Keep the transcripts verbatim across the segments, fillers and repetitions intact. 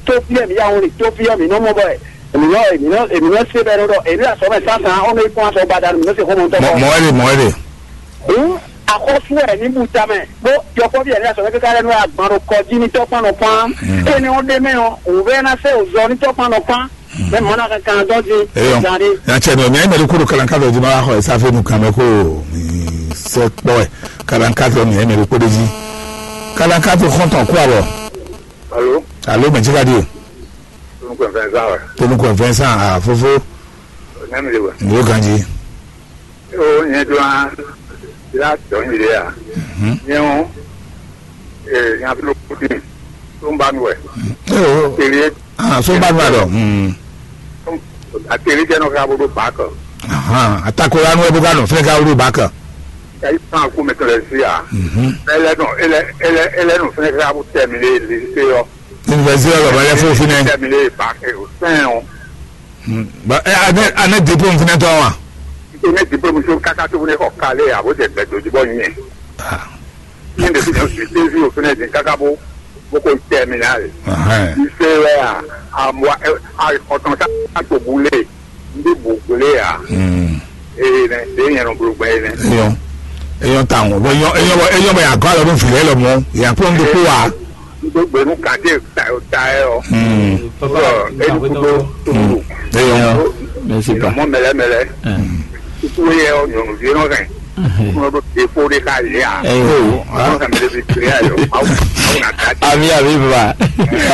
tó fí ɛ mǐ yá wọn ɖe tó fí ɛ mǐ nɔ mɔ bɔ ɛ mǐ nɔ mǐ nɔ mǐ nɔ se bɛ nɔ ɖɔ èmi asɔ mɛ sánsan ɔnɔ yi kpɔn asɔ gbada mǐ nɔ se xɔmɔ tɔ. Mɔ mɔ ɛ ɖe mɔ ɛ ɖe. Hǔn axɔ́sú ɛ ní bu tamɛ bó yɔkpɔ́ví ɛ ní asɔ mɛ kíká lɛ nú agban ɖo kɔ jí ní tɔkpán nɔ kpán. Énɛ́ ɔ́ ɖé mɛ ɔ́ wǔvɛ́ ná sɛ òzɔ ní tɔkpán nɔ kpán. Mɛ mɔ̌ ná kankan dɔn jí. Eyɔn. Gan ɖé. Yan cɛ nɔ mi ayé mɛ ɖo kó ɖo kalanka ɖo jí ma wá xɔ ɛ sáfẹ́ nu kan mɛ kó mi sɛ kpɔ ɛ kalanka tɔ mi ayé mɛ ɖo kó ɖe jí. Kalanka tó xɔntɔn kó abɔ. Alo, Alo mɛ jí ka ɖi. Tonukun Vincent wɛ. Tonukun Vincent a fofo. Nyɛmi le wɛ. Ndo ganji. O nyɛ do an la dɔn yi le a. Nyɛ o. Ee, nya fi lo kuti. Tó ń bá nu wɛ. Ee o. Tele. Ah, so bá nu a dɔ. Hmm. Atele jɛ nɔ ka bo do ba kɔ. Ahan, atako la nu e bo ka nɔ fɛn ka wulu ba kɔ. Ka yi pan ko mɛ tɔlɛ si a. Mhm. Ele nɔ ele ele ele nɔ fɛn ka bo tɛ mi le le se yɔ. Université ɔ́ lɔ̌ bá lɛ́ fó fínɛ́. Tɛ mi le ba ke o sɛn o. Ba ɛ anɛ anɛ diplôme fínɛ́ tɔn wa. Ene diplôme so kaka tó ne kɔ kale a bo jɛ gbɛ dojú bɔ nyɛ. Ah. Ní ndé fi dɔn suite vi o fínɛ́ dín kaka bó bó ko tɛ mi ná le. Ahɛn. Ife wɛ a amua a kɔtɔn sa a to bu le. Ndé bu le a. Hmm. Eye nɛ de yɛn nɔ blo gbɛ yi nɛ. Eyɔn. Eyɔn ta ŋu. Bɔ eyɔn eyɔn bɔ eyɔn bɔ yà gɔ alɔ nù fìlɛ lɔ mɔ yà kpɔn do kó wa. N tó gbé nú kàdé ta ɛ ɔ. Hmm. Ɔ edu kudo. Hmm. Eyɔn. Mɛ si pa. Mɔ mɛlɛ mɛlɛ. Kutu yɛ ɔ nyɔnu vi nɔ hɛn. Kúnlọ́ tó dé fó ɖé ká lé a. Ɛɛ. Wọ́n kàn mí lè fi pèrè ayọ̀. Awo awo na da jẹ́. Àmì àmì bàbá.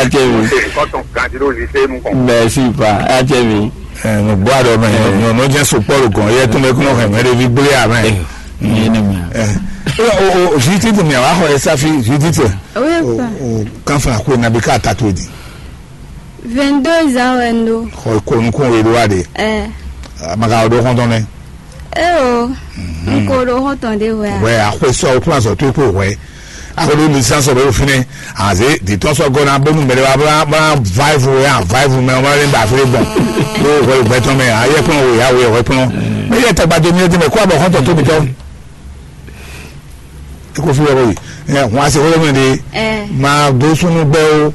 Àjẹ́ mi. Ṣe nǹkan tán kan tí ló lè ṣe é nù kàn. Bẹ́ẹ̀ sì bá àjẹ́ mi. Ẹ mo gbọ́ àdó mẹ́. Ẹ. Nyɔ n'o jẹ́ sopɔlu gan yɛ tó mɛ kúnlọ́ hɛn mɛ ɖe vi gblé a mɛ. Ẹ ní mi. Ẹ o o o Judith mi àwọn akọ ẹ sáfi Judith. Oui, o papa. O kan fún akó nabi ká tatu di. Vingt-deux ans wɛ n ɖó. Xɔ ko nukún o yi ɖó wa de. Ɛ. Amaka o ɖó xɔntɔn nɛ. Eo, n ko ɖo xɔ́ntɔn ɖé hwɛ a? Wɛ axwé sɔ́ o kplɔ́n azɔ̌ towe kpó hwɛ. Axwé ɖó lisans ɔ́ bɛ ɖo fínɛ́. Azě dǐtɔ́ sɔ́ gɔ́ ná bónú mɛɖé wá bá bá váìvù wɛ a váìvù mɛ wá lé ba fínɛ́ gbɔn. Ɖó hwɛ gbɛtɔ́ mɛ ayɛ́ kplɔ́n we yá we hwɛ kplɔ́n. Mɛ yɛ tagba do mi ɔ́ di mɛ kó abɔ xɔ́ntɔn tóbi tɔ́. Eko fi wɛ ko yi. Ɛ hɔn ase xɔlɔ mɛ de. Ɛ. Ma do sunu gbɛ o.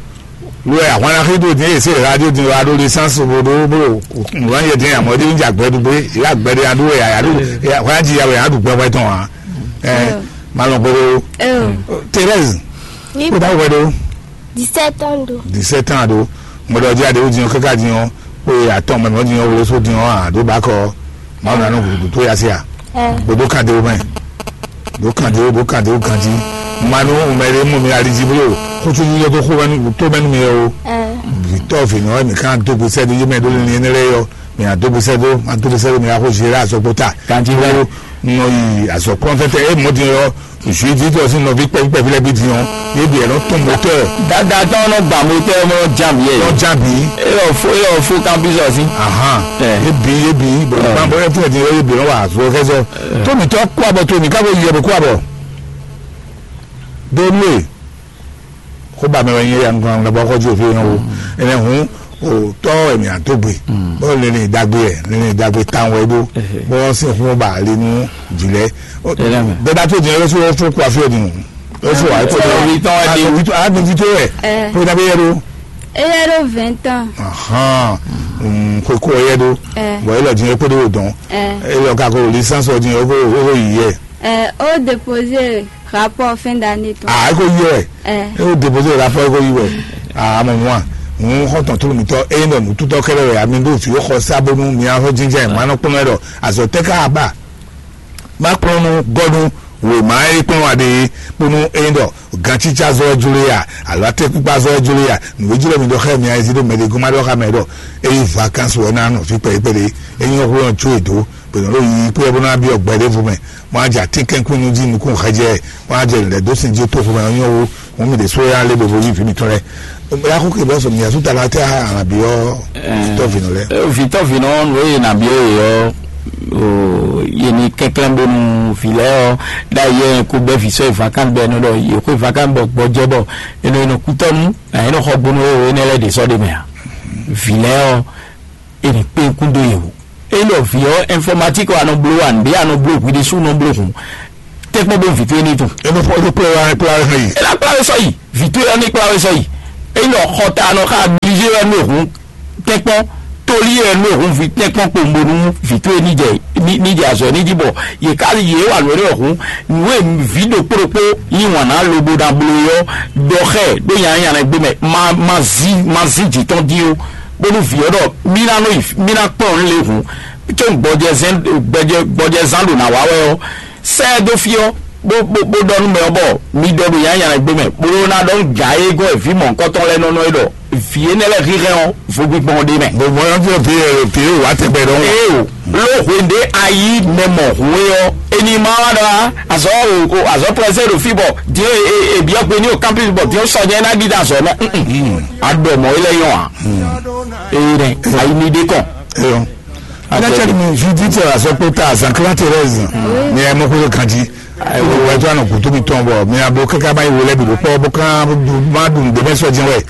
Lo ya hɔn na xi do din ese radio din wa do licence bo do bo ŋlɔ yɛ din amɔ di ja gbɛ dugbe ya gbɛ de adu ya ya do ya hɔn ji ya ya du gbɛ wɛ tɔn wa. Ɛ ma lɔn gbɛ do. Ɛ o. Thérèse. Ni Ko da wɛ do. Dix-sept ans do. Dix-sept ans do. Mo do di ade o din o kaka din o. Ko ya tɔn mɛ mo din o wo so din o a do ba kɔ. Mawu nanu gudugudu tó ya sí a. Ɛ. Gbodó kan de o mɛ. Dó kan de o, dó kan de o ganjí. Manu mɛ ɖé mú mi ali jí blo. Kútú yíyɔ tó xó mɛnu tó mɛnu mi o. Ɛ. Vitɔ vinɔ mi kan dógbó sɛdó yé mɛ ɖó lɛn yẹn lɛ yɔ. Mi adógbó sɛdó, adógbó sɛdó mi axó zé la azɔgbó ta. Ganjí lɛ. Nɔ yi azɔkpɔn tɛtɛ e mɔ din yɔ. Juivi tɔ sin nɔvi kpɛvi kpɛvi lɛ bi din ɔ. Yé bi ɛlɔ tún motɔ. Dada tɔn nɔ gba motɔ mɔ jam yɛ. Nɔ jam bi. Eyɔ fo eyɔ fo kan bi sɔ si. Ahan. Ɛ. Yé bi yé bi bɔn Ɛ. Ban bɔ ɛfɛ din yé bi nɔ wa azɔ kɛsɔ. Tómi tɔ kó abɔ tómi ká bɔ yɛ bɔ kó abɔ. Donu e. Kó ba mɛ wɛ nyɛ ya nukun na bɔ kɔ ju òfin yẹn o. Ɛnɛ hun o tɔ ɛmí àtó gbe. Bɔ lẹni dagbe yɛ lẹni dagbe tan wɛ do. Bɔ sin hun ba lenu jilɛ. Dada tó jẹ lọsọ fún kó afi ẹni. Lọsọ wa kó tó. Wi tán wá dé. Wi tó a dun fi tó yẹ. Kó dàbí yẹ do. Eyɛ ɖo vingt ans. Ahan. Kó kó yẹ do. Bɔn yẹ lọ jẹ kó do dɔn. Eyɛ lọ kakó licence ɔ jẹ kó yi yɛ. Ɛ, ó déposer rapport fin d'année tɔn. Ah, eko yi wɛ. Ɛ. E o déposer rapport eko yi wɛ. Ah, mo mwa. Mo xɔ tɔn tulu mi tɔ e nɔ nu tutɔ kɛlɛ wɛ ami do fi o xɔ sa bonu mi a xɔ jinjɛ ma nɔ kpɔn ɛ dɔ azɔ tɛ ka ba. Ma kplɔn nu gɔnu wema e kplɔn wa de bonu e dɔ gantsitsa zɔ jule ya alo atɛkpikpa zɔ jule ya nu e jule mi dɔ xɛ mi a ezi do mɛ de goma dɔ xa mɛ dɔ e yi vacances wɛ na nɔ fi kpɛ kpɛ de e nyɔ hu yɔn tso edo. Bwe nɔ ɖo yiyi kpé bó ná byɔ́ gbɛ ɖěvo mɛ, bó ná jɛ atínkɛ́nkwín jí nukún xɛjɛ, bó ná jɛ lɛ̌ dó sin jí tó xomɛ ɔ́ nyɔ́ wú, hǔn mì ɖésú é ná lé ɖo vo yí vǐ mǐtɔn lɛ́ɛ. Bóyá xó ke bɛ́ sɔ mì asú ta ná tɛ há ànàbí ɔ́ tɔ́ vǐ nɔ lɛ́ɛ. Vǐtɔ́ vǐ nɔ nú eye nà byɔ́ ye ɔ́, yě ní kɛnklɛ́n bónú vǐ lɛ́ɛ ɔ́ ɖ'ayǐ yɛ kó bɛ́ vǐ sɔ́ yi vacances bɔ é nɔ ɖɔ yě xwé vacances bɔ gbɔjɛ́ bɔ é nɔ yi nɔ kútɔ́ nú, é nɔ xɔ gbónú éwo énɛ́ lɛ́ɛ ɖě sɔ́ ɖ'é mɛ ǎ. Vǐ lɛ́ɛ ɔ́, è nǐ kpé kún dó yě wú. Ényí ɖɔ vǐ ɔ́ informatique wɛ a nɔ bló wa nǔɖé a nɔ bló hwi ɖésú nɔ bló hǔn, tɛ́nkpɔ́n bó vǐ towe ní tun. E nɔ fɔ ɖo kplɔ́ wa kplɔ́ wa hɛn yi. E ná kplá we sɔ́ yi, vǐ towe ɔ́ ní kplá we sɔ́yi. Ényí ɖɔ xɔ ta a nɔ xá a Ɛnu ehun tɛ́nkpɔ́n, tóli ɛnu ehun vi tɛ́nkpɔ́n kpowun bónú vǐ towe ní jɛ ní ní jɛ azɔ̌ ní jí bɔ yě ká yě wà nǔ énɛ́ ehun. Nǔ e vǐ ɖokpó ɖokpó yí wǎn ná lobo ná bló é ɔ́, ɖɔ xá ɛ ɖó nyanya nɛgbé mɛ, ma ma zí ma zí jǐ tɔn dín ó, bónú vǐ ɔ́ ɖɔ mí ná nɔ yi mí ná kplɔ́n nǔ lě hǔn, có gbɔjɛzán gbɔjɛ gbɔjɛzán ɖo nǎ wá wɛ ɔ́, sɛ ɛ dó fí ɔ́, bó bó bó ɖɔ nú mɛ ɔ́ bɔ mi ɖɔ ɖo nyanya nɛgbé mɛ, bó ɖó ná ɖɔ nú gǎ e gɔ́ vǐ mɔ̌hunkɔtɔn lɛ́ɛ nɔ nɔ é ɖɔ vǐ énɛ́ lɛ́ɛ hínhɛ́n ɔ́, vo gbígbɔn ɖé mɛ. Bɔn mɔyɔn tí o pé pé o wá tɛgbɛ dɔn. Ee o, ló hwende ayi mɛ mɔ hǔn é ɔ́, eni ma wá ɖɔ azɔ o azɔ prɛsɛ ɖo fí bɔ diɛ ebiɔ gbe ní o campus bɔ diɛ sɔnyɛ ná gidi azɔ mɛ. Adɔ mɔ ilẹ̀ yɔn a. Ee nɛ ayi mi ɖe kàn. Eyɔ. Adájọ́ ni mi fi títí ọ̀rọ̀ sọ pé tá a zan kílá Thérèse ni ẹ mọ́ kó lè kàn jí. Ìwé tó àná kò tóbi tán bọ̀ mi àbò kẹ́kẹ́ bá ìwé lẹ́bi ló pọ̀ bó kán má dùn débẹ́ sọ jẹun ẹ̀.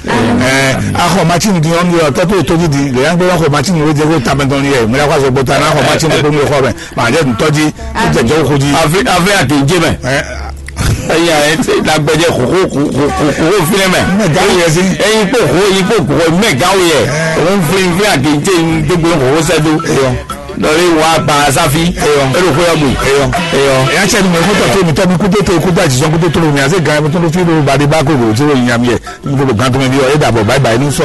Ẹ akọ machine di ɔn yọ tọ́tò tó di di lè yàn gbé akọ machine ló jẹ kó tamẹ dán ni ẹ mi akọ sọ gbọta náà akọ machine kó mi kọ mẹ màá jẹ ntọ́ di ó jẹ jẹ kó di. Àfi àfi àtẹ̀jẹ́ mẹ́. Ẹ Ẹyin ẹ ti la gbẹdẹ koko koko koko fi nẹ mẹ. Mẹ gawo yẹ si. Ẹyin kpo ko ẹyin kpo ko mẹ gawo yẹ. Òun fi fi àgéjé gbogbo koko sẹdo. Eyọ. Lọrí wa gba sáfi. Eyọ. Ero kó yọ gbe. Eyọ. Eyọ. Ẹ̀yà tsẹ́ ni mo kó tọ̀ tó mi tọ́ mi kó tó tó kó tó àjísọ́ kó tó tó mi àti gan mi tó ló fi ló ba dé bá kó ló tí ó yin àmì ẹ̀ n kó ló gan tó mi bí ọ ẹ̀ dàbọ̀ báyìí báyìí ní sọ.